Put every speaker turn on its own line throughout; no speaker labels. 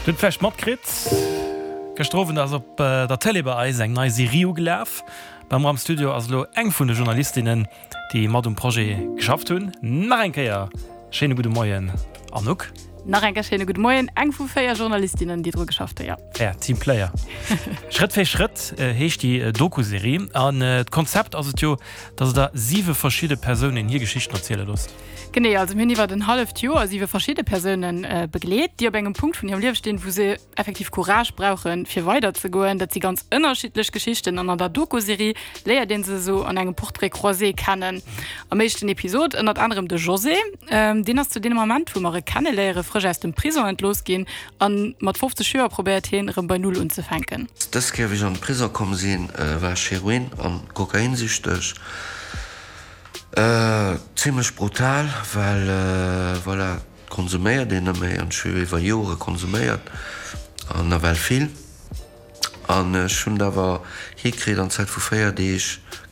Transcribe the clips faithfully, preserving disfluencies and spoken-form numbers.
Dir hutt vläicht matkritt, gëschter Owend ass op der Tëlee bei eis eng nei Serie ugelaf. Bei mer am Studio ass elo eng vun de Journalistinnen, déi mat um Projet geschafft hunn. Nach eng Kéier schéine gudde Moien, Anouk.
Nach eng Kéier schéine gudde Moien. Eng vu véier Journalistinnen, déi dru geschafft hunn, jo.
Ja, Teamplayer. Schrëtt fir Schrëtt heescht déi Doku-Serie. An d'Konzept ass et jo, dass Der siwe verschidde Persounen hir Geschichten erziele loosst.
Genee, also mir hunn iwwert en halleft Joer siwe verschidde Persoune begleet, déi op engem Punkt vun hirem Liewe stinn, wou se effektiv Courage brauchen, fir weiderzegoen. Dat si ganz ënnerschiddlech Geschichten an an der Doku-Serie léiert ee se esou an engem Portrait croisé kennen. Am éischten Episod ënnert anerem de José. Deen ass zu deem Ament, wou mer e kenneléieren, frësch aus dem Prisong entlooss ginn a mat fofzeg Joer probéiert hien, erëm bei Null unzefänken.
Dës Kéier, wéi ech an de Prisong komm sinn, war ech heroin an kokainsüchteg. Zimlech brutal, well voilà, konsuméiert een net méi an ech hu jo iwwer Jore konsuméiert an nawell vill. An ech hunn et awer hikritt an Zäit vu véier Deeg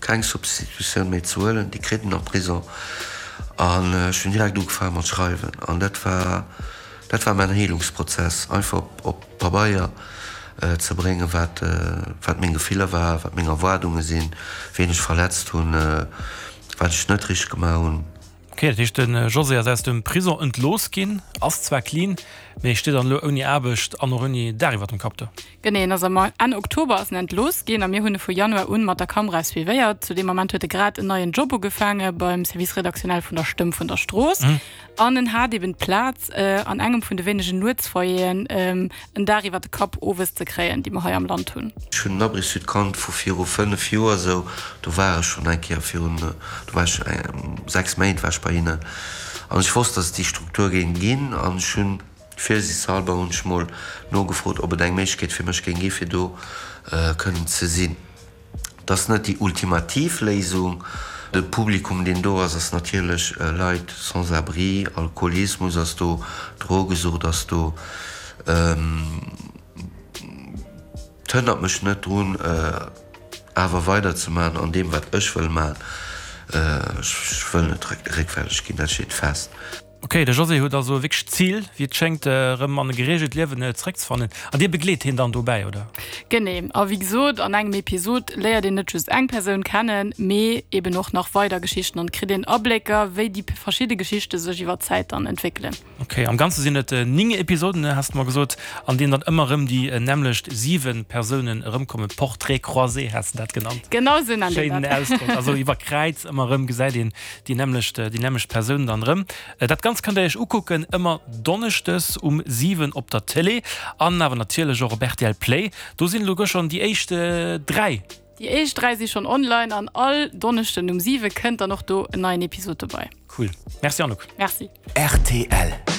keng Substitutioun méi ze huelen, déi kritt een am Prisong. An ech hunn direkt ugefaange mat schreiwen an dat war dat war mäin Heelungsprozess, einfach op Pabeier ze bréngen, wat wat meng Gefiller war, wat meng Erwaardunge sinn, wien ech verletzt hunn, wat ech net richteg gemaach hunn.
Ok, dat heescht de José ass aus dem Prison entlooss ginn, ass zwar clean, mee steet dann elo ouni Aarbecht an och ouni Daach iwwer dem Kapp do.
Genee, en ass am Enn Oktober ass en entlooss ginn a mir hunn e vu Januar un mat der Kamera suivéiert. Zu deem Ament huet e grad en neien Job ugefaange beim Service rédactionnel vun der Stëmm vun der Strooss an en hat eben d'Plaz an engem vun de wéinegen Nuetsfoyeren en Daach iwwer de Kapp owes ze kréien, déi mer hei am Land hunn.
Ech hunn den Abri Sud kannt vu viru fënnef Joer esou. Do war ech schonn eng Kéier virun, do war ech sechs Méint war ech bei hinnen an ech wosst, datt et déi Struktur géing ginn an ech hunn virsiichtshalber hunn ech mol nogefrot, ob et eng Méiglechkeet fir mech géing gi fir do kënnen ze sinn. Et ass net déi ultimativ Léisung. De Publikum, deen do ass, ass natierlech Leit sans abri, Alkoholismus ass do, Drogesucht ass do. Et hënnert mech net drun, awer weiderzemaachen an deem, wat ech wëll maachen. Ech wëll net réckfälleg ginn, dat steet fest.
Ok, de José huet also wierklech d'Zil, wéi et schéngt, erëm an e gereegelt Liewen zeréckzefannen. An Dir begleet hien dann dobäi, oder?
Genee. A wéi gesot, an engem Episod léiert een net just eng Persoun kennen, mee eben och nach weider Geschichten an et kritt een Ablécker, wéi déi verschidde Geschichte sech iwwer d'Zäit dann entwéckelen.
Ok, am Ganze sinn et néng Episoden, has de mer gesot, an deenen dann ëmmer erëm déi nämmlecht siwe Persounen erëmkommen. Portraits croisés has de dat genannt.
Genau esou nennt een
dat. Schéinen Ausdrock. Also iwwer Kräiz ëmmer erëm gesäit een déi nämmlecht, déi nämmlecht Persounen dann erëm. Dat Ganzt kënnt der iech ukucken ëmmer donneschdes um siwen op der Télé an awer natierlech och op rtl Play. Do sinn elo schonn déi éischt dräi.
Déi éischt dräi si schonn online an all Donneschden um siwe kënnt dann och do en neien Episod dobei.
Cool. Merci Anouk.
Merci.
Rtl.